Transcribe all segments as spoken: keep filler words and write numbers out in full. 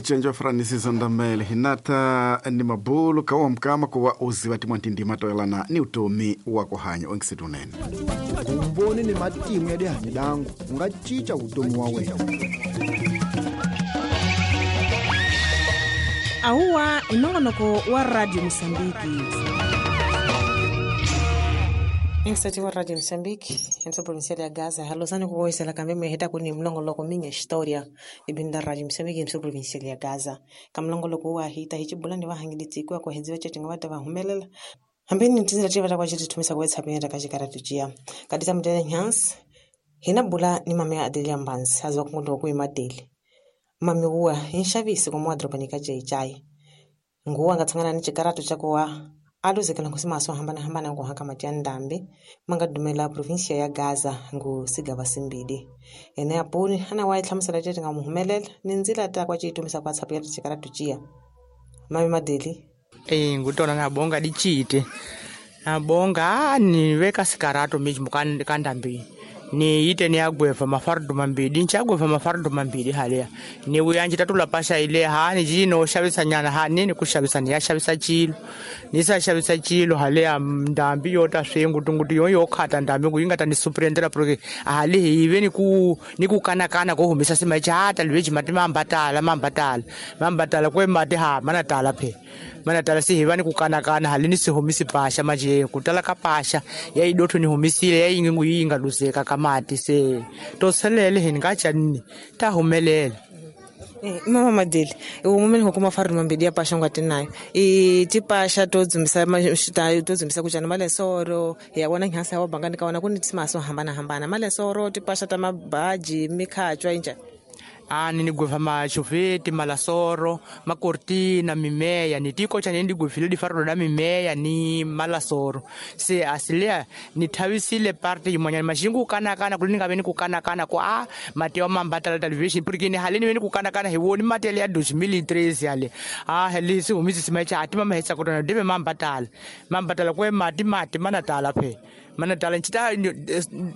Cenjo Francis Ndamele hinata ni mabulu kawa mkama kuwa uziwa timwantindima toelana ni utomi wa kuhanya onkisetunene vumboni ni matimu ya dihanyi dangu unga cinca vutomi wa wena. Auwa inongonoko wa Radio Mosambiki. Instati wa Radio Mosambiki, entro provincial ya Gaza, halosani kuwoisela kambe meheta kuni mlongoloko minha história ibinda Radio Mosambiki entro provincial ya Gaza. Kamlongoloko wa hita hichibulani wa hangilitsikwa kwa hedziwa chetinga vata vahumelela. Hambeni ntizira tiva kwa chiti tumisa kwa WhatsApp yenda kachikara tujia. Kadisa mtene nyans, hina bula ni mame Adelia Mbanzi, azwa kungundo kui madeli. Mami uwa inshavisi kwa mwadropa jai. Nguwa ngatsangana ni chikaratu chakuwa aluzekela nkusima aso hambana hambana kuhaka matia ndambi manga dumela provincia ya Gaza ngu sigaba simbidi. Ene apuni ana wa itlhamusela tete nga muhumelela ni nzila ta kwa chitumisa kwa WhatsApp ya chikaratu chia. Mami Madeli Eh ngutona nabonga dichite. Nabonga ni weka sikarato miji mukandambi. Ni ite ni agweva mafardo mambidi nchagweva mafardo mambidi halea ni uyanji tatula pasha ile ha ni jino shabisa nyana ha nini kushabisa ni yashabisa chilo nisa shabisa chilo halea ndambi yota swengu tunguti yoyo khata ndambi kuyinga tani suprendera proke hali ive ni ku ni kukana kana ko humisa sima chata lweji mati mambatala mambatala mambatala kwe mati ha mana tala phe mana tala si hiva ni kukana kana hali ni sihumisi pasha maje kutala kapasha ya idoto ni humisile ya ingingu yinga luseka mati se toselele hingacha nini tahumelela. Eh mama Madeli umumeni hukuma faru mambidi ya pasha ngwatinayo i tipasha todzumisa todzumisa kuchana malesoro ya wona nyasa wa bangani kaona kuni timaso hambana hambana malesoro tipasha ta mabaji mikhachwa inja ani ni gweva machufeti malasoro makortina mimeya ni tiko cha ndi gwevile di fardo da mimeya ni malasoro se asilea ni thawisile parte yimwanyana mashingu kana kana kulinga veni kukana kana ko a mateo mambatala television porque ni halini veni kukana kana hiwoni matele ya dois mil três yale a helisi humisi simacha atima mahetsa kotona debe mambatala mambatala kwe mati mati manatala phe manatala nchita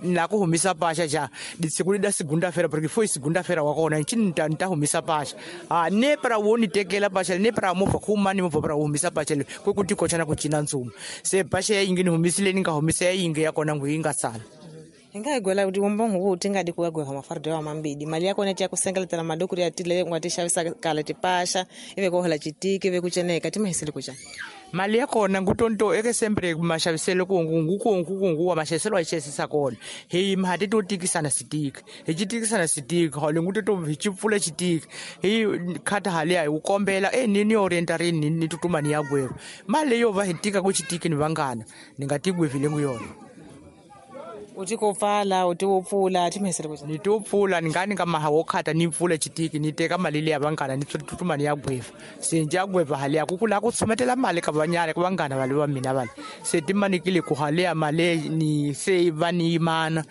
na kuhumisa pasha cha ditsikuli da segunda feira porque foi segunda feira wakona nchita ntahumisa pasha ah ne para woni tekela pasha ne para mofa khumani mofa para humisa pasha kwe kuti kochana kuchina ntsuma se pasha ingini humisile ninga humisa inge yakona nguinga sala Inga igwela kuti umbongo kuti ngadi kuwagweva mafardo wa mambidi mali yako neti yakusengeletela madukuri atile ngwatishavisa kala tipasha ive kohola chitiki ive kucheneka timahisile kucha mali yakona ngutonto eke sempre mashaviselo kungu kungu kungu wa mashaviselo achesisa kona hi mhati to tikisana sitiki hi chitikisana sitiki hole nguto hi chipfula chitiki hi khata hali ayi ukombela eh nini orientari ni ni tutuma ni yagweva mali yo va hi tika ku chitiki ni vangana ningatigwevile nguyona uti kopfala uti wopfula timhesele kucha ni topfula ningani nga maha wokhata ni pfula chitiki ni teka mali leya vangana ni tutuma ni yagweva se njagweva hali ya kukula ku tsumetela mali ka vanyana ku vangana vale va mina vale se timanikile ku hali ya mali ni se va ni yimana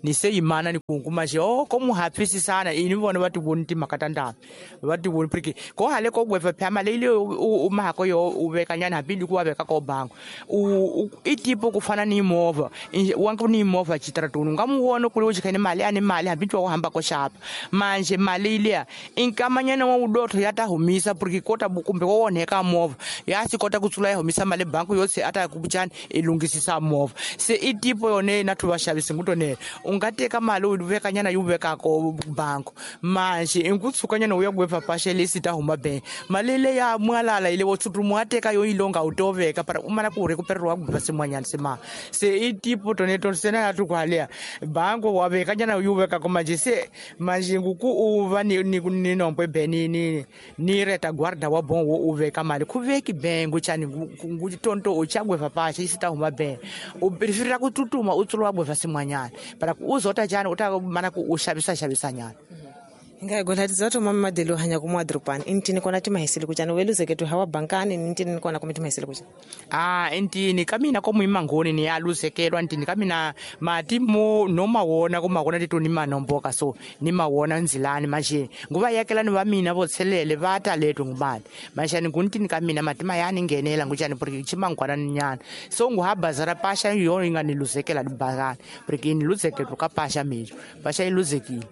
ni se yimana ni kunkuma xe o ko muhapfisi sana ini vona va ti voni timhaka ta ndhambi va ti voni porque ko hale ko gweva phya mali leyi u mahako yo u veka nyana hambi ku wa veka ko bango u i tipo ku fana ni movha wa ku ni movha chitratuni nga muwona kuli u chikhene mali ani mali hambi twa hamba ko xapa manje mali liya inkamanyana wa udotho ya ta humisa porque kota kumbe ko onheka movha ya si kota ku tsula ya humisa mali banku yose ata ku buchani i lungisisa movha se i tipo yone na thuva xavisi ngutonela u nga teka mali u veka nyana yi vekako banku manje inkutsukanyana u ya gweva pasha lesi ta huma be mali le ya mwalala ile wo tsutumu ateka yo ilonga utoveka para umana ku rekupererwa gweva simwanyana sima se i tipo tone to sena ya tukwalea bango wa veka nyana yu veka ko manje se manje nguku u va ni ni ni nombo be ni ni ni reta guarda wa bongo u veka mali ku veki bengo chani ngu tonto u chagweva pasha isita huma be u preferira ku tutuma u tsulwa gweva simwanyana para uzota chani uta mana ku ushabisa shabisa nyana Inga gola tizato mama Madeli hanya kumwa drupani intini kona timahisile kuchana weluzeketu hawa bankani intini kona kuma timahisile kuchana ah intini kamina komuima ngoni ni aluzekelwa ntini kamina mati mo noma wona kuma kona titu ni manomboka so ni mawona nzilani manje nguva yakelani va mina vo tshelele va ta leto ngumali manje nguntini kamina mati mayani ngenela nguchani porque chimangwana nyana so nguhabazara pasha yo inga ni luzekela dibakani porque ni luzekelwa ka pasha mijo pasha iluzekile.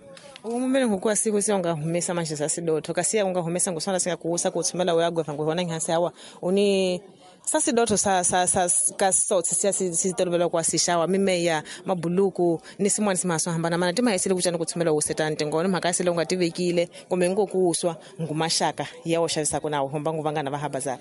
Umumele ngokuwa siku se unga humesa manje sasidotho kasi unga humesa ngusona singa kuusa kuthumela uyagweva ngihona ngihansi hawa uni sasidotho sa sa sa ka sotsi siya sitolovela kwa sishawa mimeya mabuluku ni simwana simaso hambana mana tima yesile kuchana kuthumela usetante ngona mhaka sile ungativekile kumbe ngokuswa ngumashaka yawo xavisa kuna homba nguvangana va habazara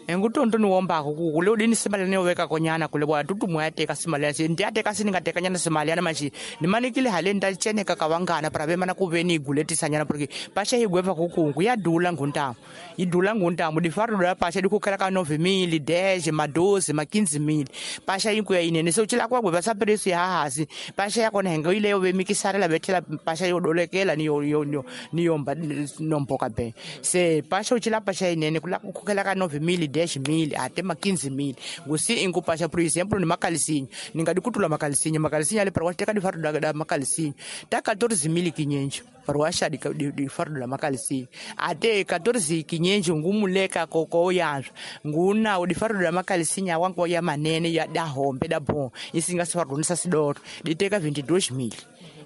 engutonto niwombako kule udini simali niweka konyana kule bwa tutumu yateka simali yase ndiyateka siningateka nyana simali yana machi nimanikile hale ndacheneka kavangana para vemana kuveni iguletisa nyana porque pasha igweva kukungu yadula nguntamu idula nguntamu difarula pasha dikukhala ka nove mili dez madoze ma quinze mili pasha ikuya inene so chila kwagweva sapreço ya hasi pasha yakona henga ileyo vemikisarela vethela pasha yodolekela niyo niyo niyomba nomboka be se pasha uchila pasha inene kula kukhela ka nove mili dez mili ate ma quinze mili ngusi ingupasha por exemplo ni makalisinya ningadikutula makalisinya makalisinya ale para teka difaru da, da makalisinya ta quatorze mili kinyenjo para washa difaru da makalisinya ate quatorze kinyenjo ngumuleka koko yanzwa nguna udifaru da makalisinya wangu ya manene ya da hombe da bon isinga sifaru nisa sidoro diteka vinte e dois mili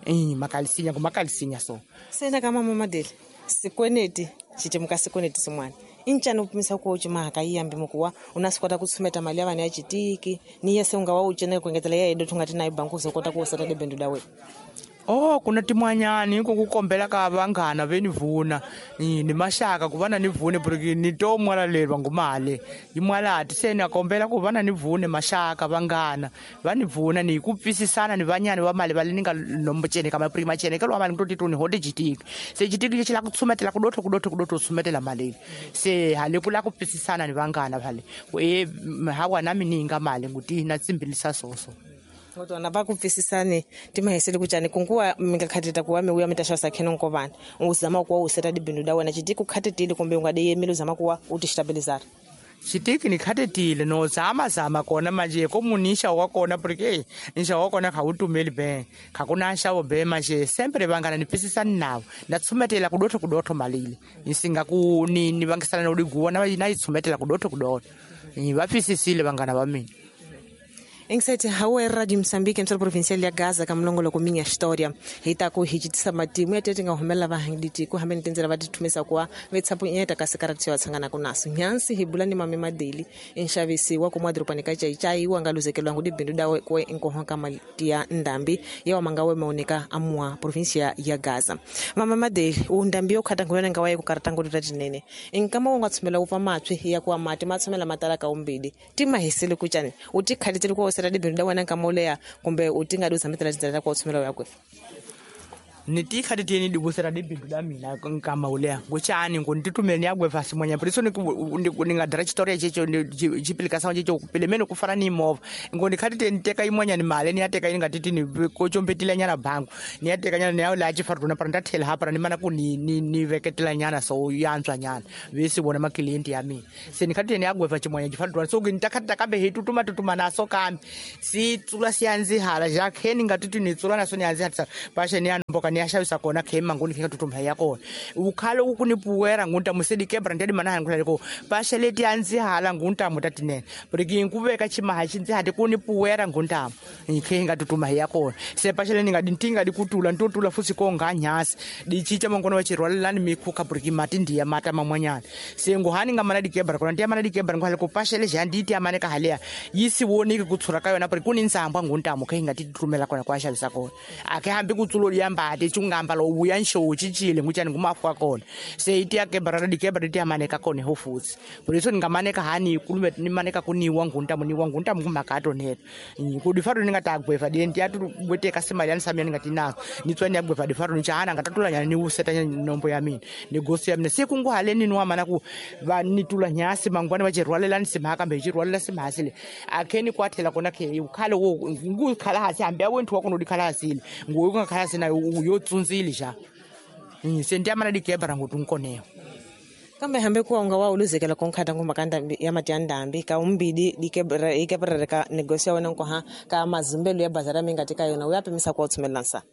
eh makalisinya ngumakalisinya so sena kama mama dele sikweneti chitemuka sikweneti simwana inchani upimisa ku chimaka iyambi mukuwa unasikwata kutsumeta mali ya vana ya chitiki ni yese unga wa uchene kuengetela ya edo tungati nayo banku zokota kuusata debendo dawe. Oh kuna timwanyani kukukombela ka vangana venivuna ni mashaka kuvana nivune porque nitomwalalelwa ngumale imwalati se nakombela kuvana nivune mashaka vangana vanivuna ni kupfisisana ni vanyani va mali vale ninga nombochene kama porque machene ke lwa mali ngitoti tuni hote chitiki se chitiki chila kutsumetela kudotho kudotho kudotho tsumetela mali se hale kula kupfisisana ni vangana vale e hawa nami ninga mali nguti na tsimbilisa soso. Ngotona va kupfisisane timahesele kuchani kunguwa mingakhateta kuwa miuya mitasha kheno nkovana uzama kuwa useta dibindu da wena chitiki ukhatetile kumbe ungadeyemile uzama kuwa utistabilizara. Chitiki nikhatetile no zama zama kona manje komunisha wakona porque nisha wakona khautumeli be khakuna nxavo be manje sempre vangana nipfisisani navo ndatsumetela kudotho kudotho malile nisinga ku ni ni vangisana no diguwa na na itsumetela kudotho kudotho va pfisisile vangana va mina. Insight hawe Radio Mozambique emsolo provincial ya Gaza ka mlongolo ko minha história hita ku hijitisa matimu ya tete nga humela va hangiditi ku hamene tenzela va tithumisa kwa vetsapo nyeta ka sekarati wa tsangana ku naso nyansi hibula ni mame madeli inshavisi wa kumwa dropani ka chai wa ngaluzekelwa ngudi bindu dawe ko inkohonka matia ndambi ya mangawe maoneka amwa provincia ya Gaza mama madeli undambi okhata ngona ngawaye ku karata ngodu tatinene inkama unga tsumela upa matswi ya kwa mati matsumela matala ka umbidi timahisele kuchani utikhalitsele ko sera dibindu da wena nkamoleya kumbe utinga duza mitela tindlela kwa utsumela yakwe. Nitikhateteni dibusera dibindu da mina nkama uleya nguchani ngunditutumele niyagweva simwanya priso ningadira chitoria checho chipilika checho pilemene kufana ni mova ngondikhateteni teka imwanya ni mali niyateka ingatiti ni kochombetile nyana bangu niyateka nyana niyaula chifaruna para ndathela hapara nimana ku ni ni veketela nyana so yantswa nyana vesi vona maklienti ya mina se nikhateteni yagweva chimwanya chifaruna so ngitakhatita kambe hitutuma tutuma naso kambe sitsula siyanzihala jakhe ningatiti nitsula naso niyanzihatisa pashe niyanomboka niyashavisa kona khema ngoni khinga tutumha ya kona ukhale ukunipuwera ngunta musedi kebra ndedi mana ngula ko pashe leti anzihala ngunta mutatinene porque ngubeka chimaha chinzihati kunipuwera ngunta ikhinga tutuma ya kona se pashe le ningadintinga dikutula ntutula fusi ko nganyasi dichicha mangona wachirwalelani mikhuka porque mati ndiya mata mamwanyana se nguhani ngamana dikebra kona ndiya mana dikebra ngwale ko pashe le janditi amane ka halea yisi wonike kutsura ka yona porque kuninzambwa ngunta mukhinga titutumela kona kwashavisa kona akhe hambi kutsulo liyamba chungamba lo uya nshow chichile nguchani ngumafu akona se iti yakebra dikebra iti amaneka kona ho futhi por isso ningamaneka hani kulume nimaneka kuniwa ngunta muniwa ngunta ngumakato neto kudifaru ningatagweva dienti atu bweteka simali yani samia ningatinazo nitswani yagweva difaru nichana ngatatula nyana ni useta nombo ya mina negosi ya mina sekunguhale nini wamana ku va nitula nyasi mangwana vachirwalela simhaka mbe chirwalela simhasile akheni kwathela kona khe ukhale wo ngukhala hasi hambe awenthu wakona udikhala hasile nguwe ungakhala sina yo tsunzile ja sendiyamana dikebra ngutunkoneyo. Kambe hambe kuwa unga wa uluzekela konkhata nguma kanda ya matiandambi ka umbidi dikebra ikebra ka negosia wena nkoha ka mazimbelo ya bazara mingatika yona uyapimisa kwa utsumelansa.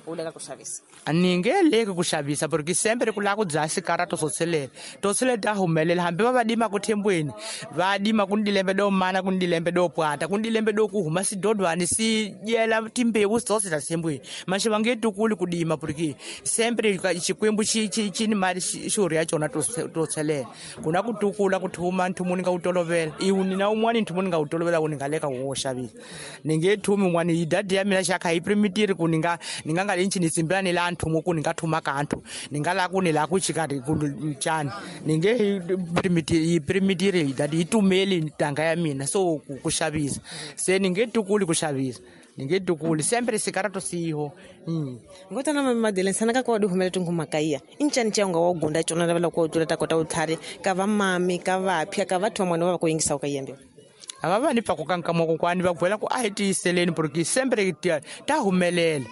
U leka ku xavisa ni nge leki ku xavisa porque sempre ku lava ku dzaha sikarato swo tshelela to tshelela ta humelela hambi va va dima ku thembweni va dima ku ni dilembe do mana ku ni dilembe do pwata ku ni dilembe do ku huma sidodwani si dyela timbewu tsose ta thembweni maxe va nge tukuli ku dima porque sempre xikwembu xi xi xi ni mali xurhi ya cona to to tshelela ku na ku tukula ku thuma nthumu ni nga wu tolovela iwu ni na un'wani nthumu ni nga wu tolovela ku ni nga leka wo xavisa ni nge thumi un'wani yi dadi ya mina xa kha yi primitiri ku ni nga ni nga nga linchi ni tsimbela ni la nthumu ku ni nga thuma ka nthu ni nga la ku ni la ku chikati ku ncani ni nge yi primitiri yi primitiri yi dadi yi tumeli ntanga ya mina so ku ku xavisa se ni nge tukuli ku xavisa ni nge tukuli sempre sikarato siho mm. Ngotana mami Madele sana ka kwa di humele tungu makaya incani cha unga wa gunda chona lavela ku tula ta kota utlhari ka va mami ka va phya ka va thoma mwana wa ku yingisa ka yembe ava va ni pfa ku kanka moko kwani va gwela ku a hi tiyiseleni porque sempre ta humelela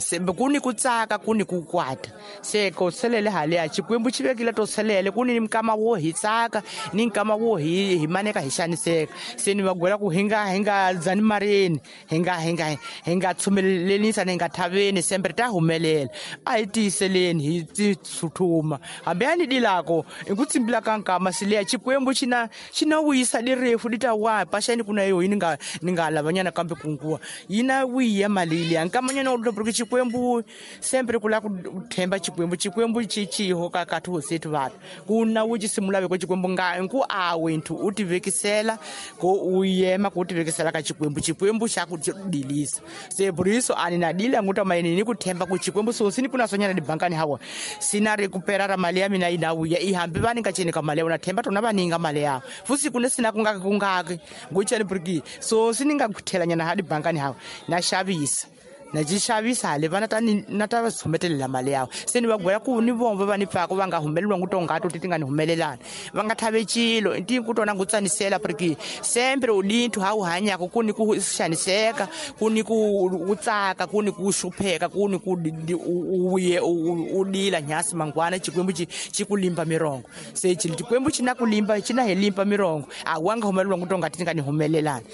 sembe ku ni ku tsaka ku ni ku kwata se ko tshelele haliya xikwembu xi vekile to tshelele ku ni nkama wo hi tsaka ni nkama wo hi hi maneka hi xaniseka se ni va gwela ku hi nga hi nga dzani marini hi nga hi nga hi nga tshumelelisa ni nga thaveni sempre ta humelela a hi tiyiseleni hi tithuthuma hambi a ni dilako i ku tsimbila ka nkama sileya xikwembu xi na xi na wisa direfu di ta wa paxani ku na yo yi ni nga ni nga lavanyana kambe kunguwa yi na wiya mali liya nkamanyana u porque xikwembu sempre ku lava ku themba xikwembu xikwembu xi xiho ka ka tihosi vanhu ku na wu xi simula veko xikwembu nga ku a wenthu u tivekisela ko u yema ku tivekisela ka xikwembu xikwembu xa ku dilisa se buriso ani na dila nguta mayini ni ku themba ku xikwembu so sini kuna sonyana dibankani hawa sina ri kupera ra mali ya mina yi na wuya i hambi va ni nga ceni ka mali ya wona themba tona va ninga mali ya fusi ku ne sina ku nga ku nga nguchani porque so sini nga kuthelanyana ha dibankani hawa na xavisa na xi xavisa hale vana ta ni na ta va tshumetelela mali yawo se ni va gwela ku ni vona va ni pfaka va nga humeleliwa ngu tongato ti ti nga ni humelelani va nga thave cilo ti ku tona ngu tsanisela porque sempre u dinthu ha u hanyaka ku ni ku xaniseka ku ni ku ku tsaka ku ni ku xupheka ku ni ku u ye u dila nyasi mangwana xikwembu xi xi ku limba mirongo se xikwembu xi na ku limba xi na hi limba mirongo a wa nga humeleliwa ngu tonga ti nga ni humelelani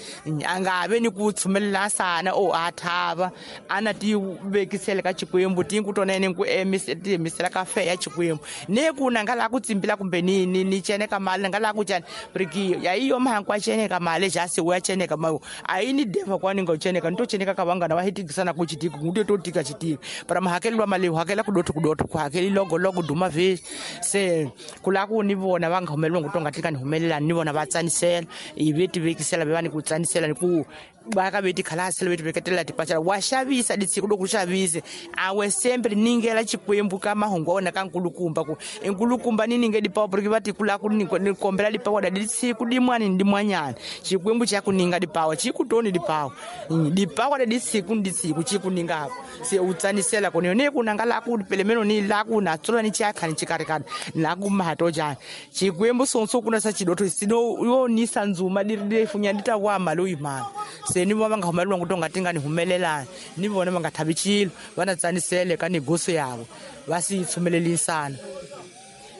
a nga ve ni ku tshumelela sana o a thava ana ti vekisela ka xikwembu ti ku tona ene ku emisela ka fe ya xikwembu ne ku na nga la ku tsimbila kumbe ni ni ni ceneka mali nga la ku cana porque ya iyo mahankwa ceneka mali jasi wa ceneka mayo a yi ni deva kwani nga ceneka ni to ceneka ka vangana va hitikisana ku chitiko ngu to tika chitiko para mahakelwa mali hakela ku dotho ku dotho ku hakeli logo logo duma ve se ku la ku ni vona va nga humeleliwa ngu tonga tika ni humelela ni vona va tsanisela i ve ti vekisela va ni ku tsanisela ni ku va ka veti khalasela veti veketela tipachela wa xavisa ditsiko loko xavise a we sempre ningela xikwembu ka mahungu wa wena ka nkulukumba ku nkulukumba ni ninge dipawa porque va tikula ku ni kombela dipawa da ditsiko dimwani ni dimwanyana xikwembu xa ku ninga dipawa xi ku toni dipawa dipawa da ditsiko ni ditsiko xi ku ninga se u tsanisela ku ni ku nanga la ku pelemeno ni la ku na tsola ni chakha ni chikarikana la ku mahato jani xikwembu sonso kuna sa chidotho sino yo ni sanzuma di ri funya di ta wa mali u yimana se ni va nga humeleliwa ngu tonga ti nga ni humelelani ni vona va nga thavi cilo va na tsanisele ka negoso yavo va si tshumelelisana.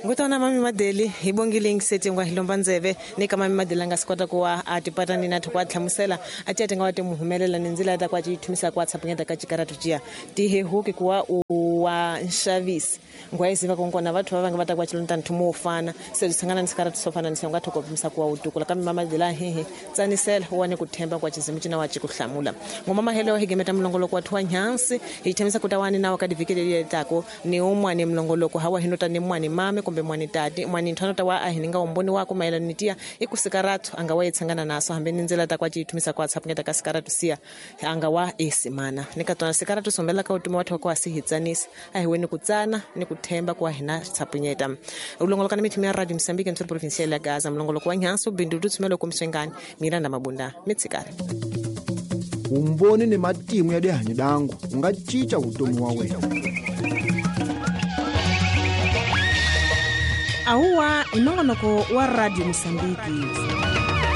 Ngotana mami Madeli hi bongile ngisete ngwa hilomba ndzeve ni ka mami Madeli nga sikota ku wa a tipata ni nathu kwa tlhamusela a ti nga wa ti muhumelela ni ndzila ta kwa chi thumisa kwa tshapunyeta ka chikaratu chia ti he huki kuwa u wa nxavisi ngwa isiva konkona vathu va nga va ta kwa chilonta nthumo wo fana se sangana ni sikaratu swo fana ni se nga thoko pimisa kuwa utukula kambe mama Madeli hehe tsanisela wa ni ku themba kwa chizimu china wa chikuhlamula ngoma mahelo higemeta mlongoloko wa thwa nyansi hi themisa kutawani nawo ka divikele tako ni umwani mlongoloko hawa hinota ni mwani mame kumbe mwani tati mwani nthano ta wa a hininga umboni wako mayelana ni tiya i ku sikaratu anga wa yitsangana naso hambi ni ndzela ta kwa chithumisa kwa tshapunyeta ka sikaratu siya anga wa esimana ni ka tona sikaratu sombela ka utumi wa thwa kwa sihitsanisa a hi weni ku tsana ni ku themba kwa hina tshapunyeta ulongoloka ni mithimi ya Radio Mozambique mtsolo provincial ya Gaza mlongoloko wa nyanso bindu tutsumelo kumswengani Miranda Mabunda mitsikari umboni ni matimu ya dihanyi dangu unga cinca vutomi wa wena. Auwa inongonoko wa Radio Mozambique.